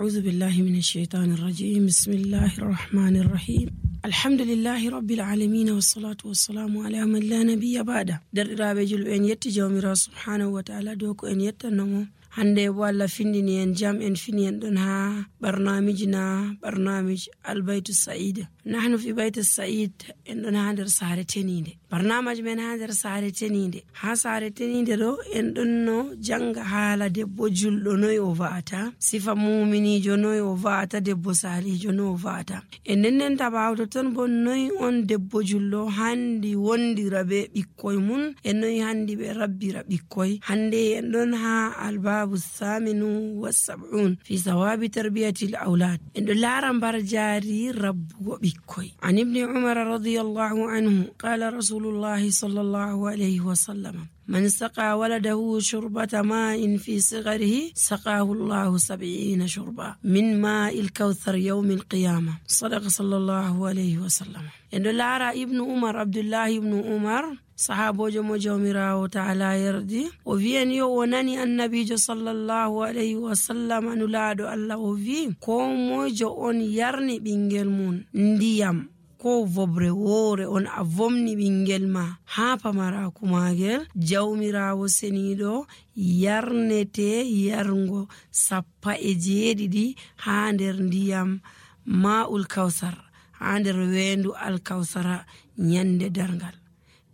أعوذ بالله من الشيطان الرجيم. بسم الله الرحمن الرحيم. الحمد لله رب العالمين والصلاة والسلام على من لا نبي بعده. درiraɓe julɓe en yetti jawmirawo subhanahu wa ta'ala dow ko en yettannomo hande bo Allah findini en jam en fini en ɗon ha barnamij albaytu sa'id. Nahnu fi bayti sa'id en ɗon ha nder saare teninde. Barnamij men ha nder saare teninde. Ha saare teninde ɗo en ɗon no janga haala debbo julɗo noy o va'ata, sifa muminijo noy o va'ata, debbo salijo noy o va'ata. En nennen tabawto ton bo noy on debbo julɗo handi wondira be ɓikkoy mun, en noy handi ɓe rabbira ɓikkoy. Hande en ɗon ha albabu thaminu was-sab'un fi sawabi tarbiyati al-awlad. En ɗo lara mbar jari rabbugo ɓikkoy. An ibn Umar radiyallahu anhu qala rasulullahi sallallahu alayhi wa sallam: من سقى ولده شربة ماء في صغره سقاه الله 70 شربة من ماء الكوثر يوم القيامة. صدق صلى الله عليه وسلم. إن لارا ابن عمر عبد الله ابن عمر صحابو جمو جوميراو تعالى يردي وفين يو وناني النبي صلى الله عليه وسلم نلادو الله وفين كومو جو on yarni ɓingel mun ndiyam ko vobre woore on a vomni ɓingel ma ha pamaraku magel, jawmirawo seniɗo yarnete yarngo 70 ha nder ndiyam ma'ul kawsar, ha nder wendu alkawsara nyande dargal.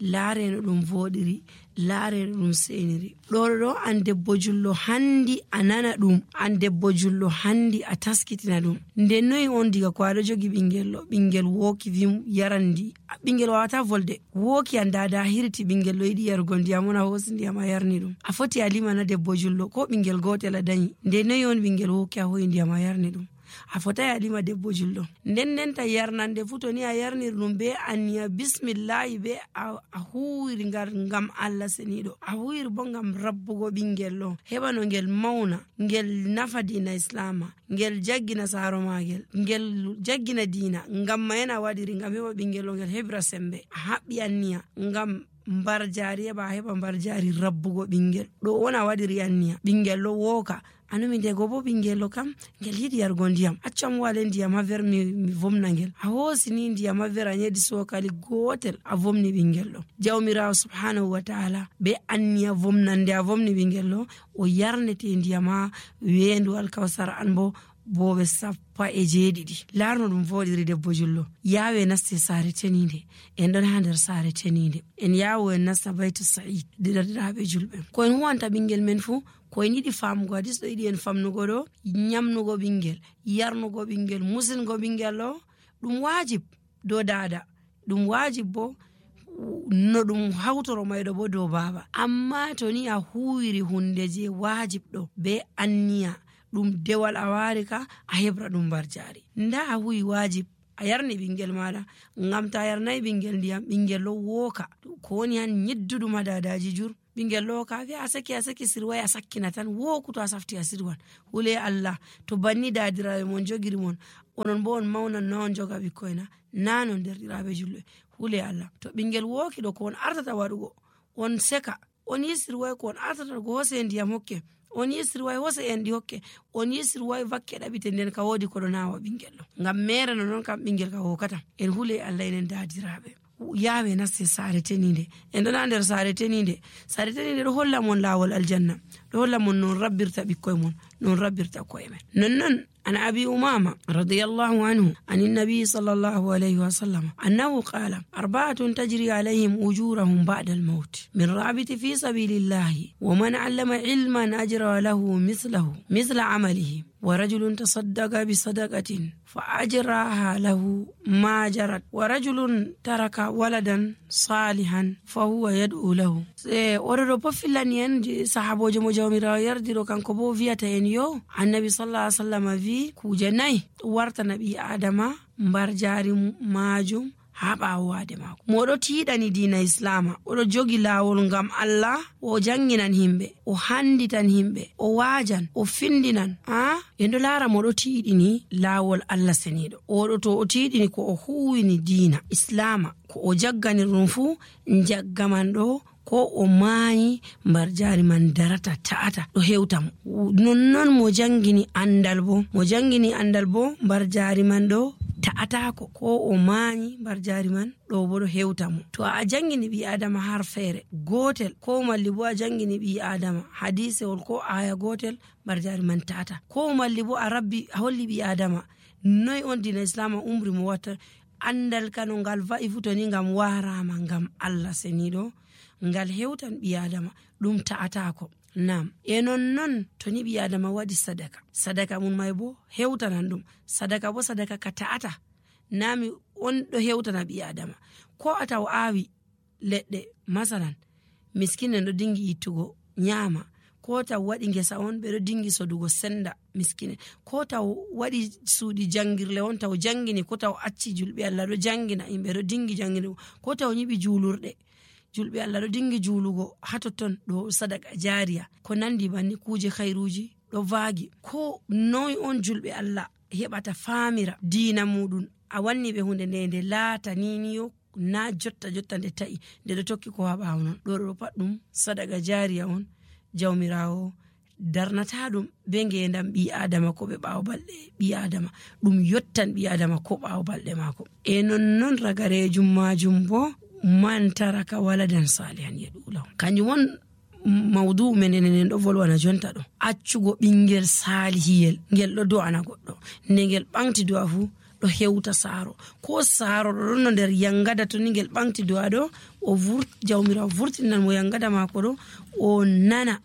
Laareno ɗum voɗiri, laareno ɗum seniri. ɗo an debbo jullo handi a nana ɗum, an debbo jullo handi a taskitina ɗum. Nden noyi on diga ko aɗo jogi ɓingel woki vim yarandi, ɓingel wawata volde, woki an dada hirti ɓingel ɗo yiɗi yarugo ndiyam on a hosi ndiyam a yarni ɗum, a foti a limana debbo jullo ko ɓingel gotel a dañi. Nden noyi on ɓingel woki a hoyi ndiyam a yarni ɗum, a fotai a lima debbo jullo. Nden ta yarnande fu to ni a yarnir ɗum be anniya bismillahi be a huwiri ngam Allah seniɗo, a huwiri bo ngam rabbugo ɓingel ɗo heɓa no ngel mauna, ngel nafa dina islama, ngel jaggina saro magel, ngel jaggina dina, ngam mayena waɗiri ngam heɓa ɓingel ɗo ngel heɓira sembe. A haɓɓi anniya ngam mbar jari heɓa mbar jari rabbugo ɓingel ɗo wona waɗiri anniya. Ɓingel ɗo woka anumi ndego bo ɓingel ɗo kam ngel yiɗi yargo ndiyam, accam wale ndiyam ha ver mi vomna ngel. A hosi ni ndiyam ha ver a nyedi sokali gotel a vomni ɓingel ɗo. Jawmirawo subhanahu wa ta'ala be anniya vomnande a vomni ɓingel ɗo o yarnete ndiyam ha wendu alkawsara an bo boɓe 70. Larno ɗum voɗiri debbo jullo. Yawe naste saare teninde, en ɗon ha nder saare teninde, en yawo en nasta baytu sa'id. Didiraɓe julɓe ko en huwanta ɓingel men fu ko en yiɗi famugo hadis ɗo yiɗi en famnugo ɗo, nyamnugo ɓingel, yarnugo ɓingel, musingo ɓingel ɗo ɗum wajib dow dada, ɗum wajib bo no ɗum hawtoro mayɗo bo dow baba. Amma to ni a huwiri hunde je wajib ɗo be anniya ɗum dewal a wari ka a hebra ɗum mbar jari. Nda a huwi wajib a yarni ɓingel maɗa, ngam ta yarnayi ɓingel ndiyam ɓingel ɗo woka ko woni han nyidduɗum ha dadaji jur. Ɓingel ɗo ka fi a saki sirwai a sakkina tan woku to a safti a sirwan. Hule Allah to banni dadiraɓe mon jogiri mon, onon bo on maunan na on joga ɓikkoyna nanon derɗiraɓe julɓe. Hule Allah to ɓingel woki ɗo ko on artata waɗugo on seka, on yisirwai ko on artata go hose ndiyam hokke, on yisirwai hose enɗi hokke, on yisirwai vakke ɗaɓite nden ka wodi koɗo nawa ɓingel ɗo, ngam mere no non kam ɓingel ka wokata. En hule Allah enen dadiraɓe yawe naste saare teninde, en ɗon ha nder saare teninde. Saare teninde ɗo holla mon lawol aljanna, ɗo holla mon non rabbirta ɓikkoye mon, non rabbirta koye men. Nonnon an abi umama radiyallahu anhu an nabi sallallahu alayhi wa sallam annahu qala arba'atun tajri alayhim ujurahum ba'da al-maut min rabiti fi sabilillahi wa man 'allama ilman ajra lahu mithla 'amalihi wa rajulun tasaddaqa bi sadaqatin fa ajraha lahu ma jarat wa rajulun taraka waladan salihan fa huwa yad'u lahu. Oɗo bo fillani en sahabojo mo jawmirawo yardiro kanko bo viyata en yo annabi sallallahu alaihi wasallam vi kuje nayi warta nabi adama mbar jari majum ha ɓawo wade mako. Moɗo tiɗani dina islama, oɗo jogi lawol ngam Allah, o janginan himɓe, o handitan himɓe, o wajan, o findinan. En ɗo lara moɗo tiɗini lawol Allah seniɗo. Oɗo to o tiɗini ko o huwini dina islama, ko o jaggani ɗum fu jaggaman ɗo ko o maayi mbar jaari man darata ta'ata ɗo hewta mo. Nonnon mo jangini andal bo mbar jaari man ɗo ta'atako, ko o maayi mbar jaari man ɗo bo ɗo hewta mo. To a jangini ɓi adama har feere gotel, ko malli bo a jangini ɓi adama hadisewol ko aya gotel, mbar jaari man ta'ata. Ko malli bo a holli ɓi adama noy on dina islam umri mo watta andal kano ngal va'i fu to ni ngam warama ngam Allah seniɗo ngal hewtan ɓi adama ɗum ta'atako. Nam nonnon to ni ɓi adama waɗi sadaka mum may bo hewtanan ɗum. Sadaka bo sadaka ka ta'ata nami on ɗo hewtana ɓi adama. Ko a taw awi leɗɗe masalan miskinen ɗo dingi ittugo nyama, ko taw waɗi ngesa on ɓeɗo dingi sodugo senda miskine, ko taw waɗi suuɗi jangirle on taw jangini, ko taw acci julɓe Allah ɗo jangina yimɓe ɗo dingi jangini, ko taw nyiɓi julurde julɓe Allah ɗo dingi julugo hatotton ɗo sadaka jariya. Ko nandi banni kuje khairuji ɗo vaagi. Ko noy on julɓe Allah heɓata famira diina muɗum, a wanni ɓe hunde nde laata niniyo na jotta nde ta'i nde ɗo tokki ko ha ɓawo non, ɗo pat ɗum sadaka jariya on. Jawmirawo darnata ɗum be ngendam ɓi adama ko ɓe ɓawo balɗe ɓi adama, ɗum yottan ɓi adama ko ɓawo balɗe mako. Nonnon ragarejum majum bo man taraka waladan salihan yad'u kanjum won mawdu men enen ɗo volwana jonta ɗo, accugo ɓingel salihiyel ngel ɗo do'ana goɗɗo, nde ngel ɓanti do'a fu ɗo hewta saaro, ko saaro ɗo ɗon nder yangada to ni ngel ɓanti do'a ɗo jawmirawo vurtinan mo yangada mako ɗo, o nana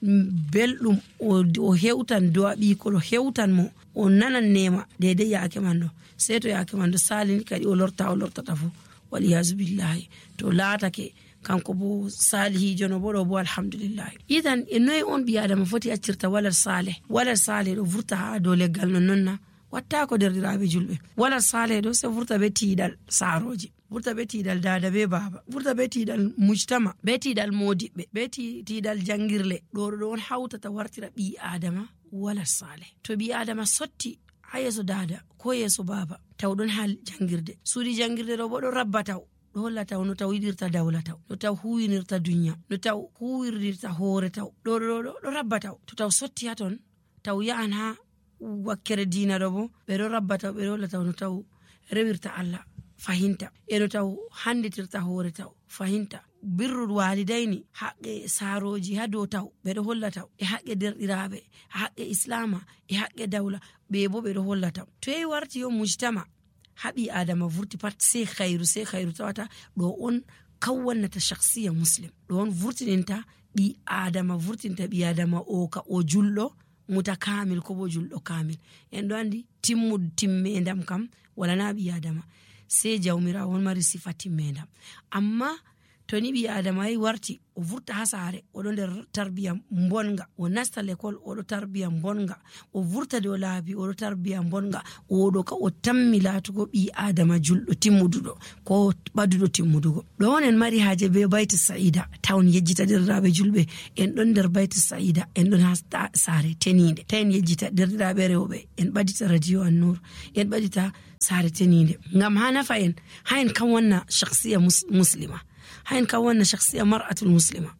belɗum, o hewtan do'a ɓiko ɗo hewtan mo, o nanan nema daidai yake man ɗo. Sei to yake man ɗo salini kadi o lortata fu waliyazu billahi to laatake kanko bo salihijo no bo ɗo bo alhamdulillahi. Idan noy on ɓi adama foti accirta walal saleh ɗo vurta ha dow leggal nonnonna wattako derɗiraɓe julɓe. Walal saleh ɗo se vurta be tiiɗal saaroji, vurta be tiiɗal dada be baba, vurta be tiiɗal mujtama, be tiiɗal modiɓɓe, be tiiɗal jangirle. ɗo on hawtata wartira ɓi adama walal saleh. To ɓi adama sotti ha yeso dada ko yeso baba taw ɗon ha jangirde, suuɗi jangirde ɗo bo ɗo rabba taw ɗo holla taw no taw yiɗirta dawla taw, no taw huwinirta dunya, no taw huwirdirta hoore taw, ɗo rabba taw. To taw sotti ha ton taw yahan ha wakkere diina ɗo bo ɓeɗo rabba taw, ɓeɗo holla taw no taw rewirta Allah fahinta, no taw handitirta hoore taw fahinta, birrul walidaini haqqe saaroji ha dow taw ɓeɗo holla taw, e haqqe derɗiraɓe, haqqe islama, e haqqe dawla ɓe bo ɓeɗo holla taw. To yi warti yo mujtama haɓi adama vurti pat sai khairu tawata ɗo on kawwannata shakhsiya muslim, ɗo on vurtininta ɓi adama, vurtinta ɓi adama o ka o julɗo mutakamil ko bo julɗo kamil. En ɗo andi timmedam kam wala na ɓi adama, sai jawmirawo on mari sifa timmedam. Amma to ni ɓi adama yi warti o vurta ha saare oɗo nder tarbiya bonga, o nasta l'école oɗo tarbiya bonga, o vurta dow laabi oɗo tarbiya bonga, oɗo ka o tammi laatugo ɓi adama julɗo timmuduɗo ko ɓaduɗo timmudugo. ɗo on en mari haaje be bayti sa'ida tawn yejjita derɗiraɓe julɓe, en ɗon nder bayti sa'ida, en ɗon ha saare tenide, ta en yejjita derɗiraɓe rewɓe, en ɓadita radio An-Nur, en ɓadita saare tenide, ngam ha nafa en, ha en kan wanna shakhsiya muslima, ha en kan wanna shakhsiya mar'atul muslima.